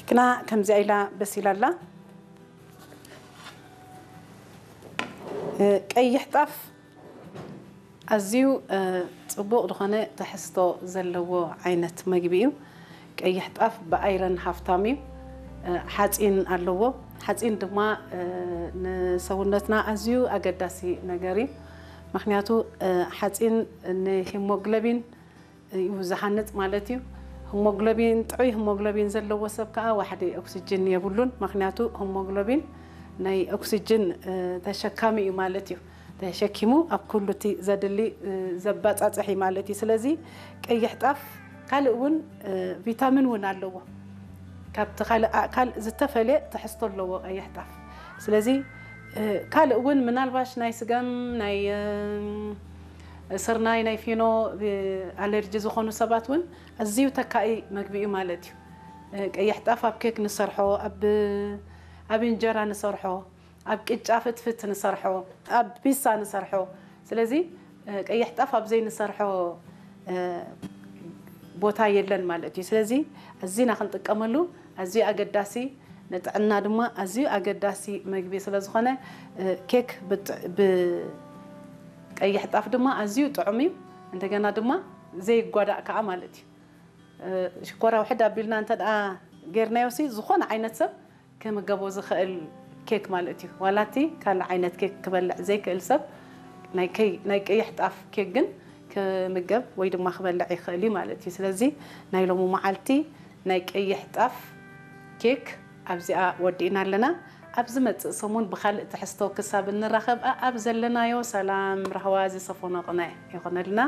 ግና ከምዚኣ ኢላ በሲላ ኣላ። እ፣ ቀይሕ ጣፍ ኣዝዩ፣ እ፣ ጽቡቕ ዝኾነ ትሕዝቶ ዘለዎ ዓይነት መግቢ እዩ። ቀይሕ ጣፍ ብኣይረን ሃፍታም እዩ። እ፣ ሓጺን ኣለዎ። ሓጺን ድማ፣ እ፣ ንሰውነትና ኣዝዩ ኣገዳሲ ነገር እዩ። ምኽንያቱ፣ እ፣ ሓጺን ንሂሞግሎቢን እዩ ዝሃንጽ ማለት እዩ። ሂሞግሎቢን፣ ጥዑይ ሂሞግሎቢን ዘለዎ ሰብ ከኣ ዋሕዲ ኦክስጅን የብሉን። ምኽንያቱ ሂሞግሎቢን ናይ ኦክስጅን፣ እ፣ ተሸካሚ እዩ ማለት እዩ። ተሸኪሙ ኣብ ኩሉ እቲ ዘድሊ፣ እ፣ ዘባጻጽሕ እዩ ማለት እዩ። ስለዚ ቀይሕ ጣፍ ካልእ እውን፣ እ፣ ቪታሚን እውን ኣለዎ። ካብቲ ካልእ ኣእካል ዝተፈልየ ትሕዝቶ ኣለዎ ቀይሕ ጣፍ። ስለዚ፣ እ፣ ካልእ እውን ምናልባሽ ናይ ስገም፣ ናይ፣ እ፣ ስርናይ፣ ናይ ፊኖ፣ እ፣ ኣለርጂ ዝኾኑ ሰባት እውን ኣዝዩ ተካኢ መግቢ እዩ ማለት እዩ። እ፣ ቀይሕ ጣፍ ኣብ ኬክ ንሰርሖ፣ ኣብ፣ ኣብ እንጀራ ንሰርሖ፣ ኣብ ቅጫ ፍትፍት ንሰርሖ፣ ኣብ ፒሳ ንሰርሖ። ስለዚ፣ እ፣ ቀይሕ ጣፍ ኣብ ዘይንሰርሖ፣ እ፣ ቦታ የለን ማለት እዩ። ስለዚ ኣዚና ክንጥቀመሉ ኣዝዩ ኣገዳሲ፣ ንጥዕና ድማ ኣዝዩ ኣገዳሲ መግቢ ስለ ዝኾነ፣ እ፣ ኬክ ብጥ-፣ ብቀይሕ ጣፍ ድማ ኣዝዩ ጥዑም እዩ። እንደገና ድማ ዘይጓዳእ ከኣ ማለት እዩ። እ፣ ሽኮራ ውሕድ ኣቢልና እንተ ደኣ ጌርናዮ ሲ፣ ዝኾነ ዓይነት ሰብ ክምገቦ ዝኽእል ኬክ ማለት እዩ። ዋላ እቲ ካልእ ዓይነት ኬክ ክበልዕ ዘይክእል ሰብ ናይ ከይ-፣ ናይ ቀይሕ ጣፍ ኬክ ግን ክምገብ ወይ ድማ ክበልዕ ይኽእል እዩ ማለት እዩ። ስለዚ ናይ ሎሚ መዓልቲ ናይ ቀይሕ ጣፍ ኬክ ኣብዚኣ ወዲእና ኣለና። ኣብ ዝመጽእ ሰሙን ብኻልእ ትሕዝቶ ክሳብ እንራኸብ፣ ኣኣብ ዘለናዮ ሰላም ራህዋ ዝሰፈኖ ቅነ ይኾነልና።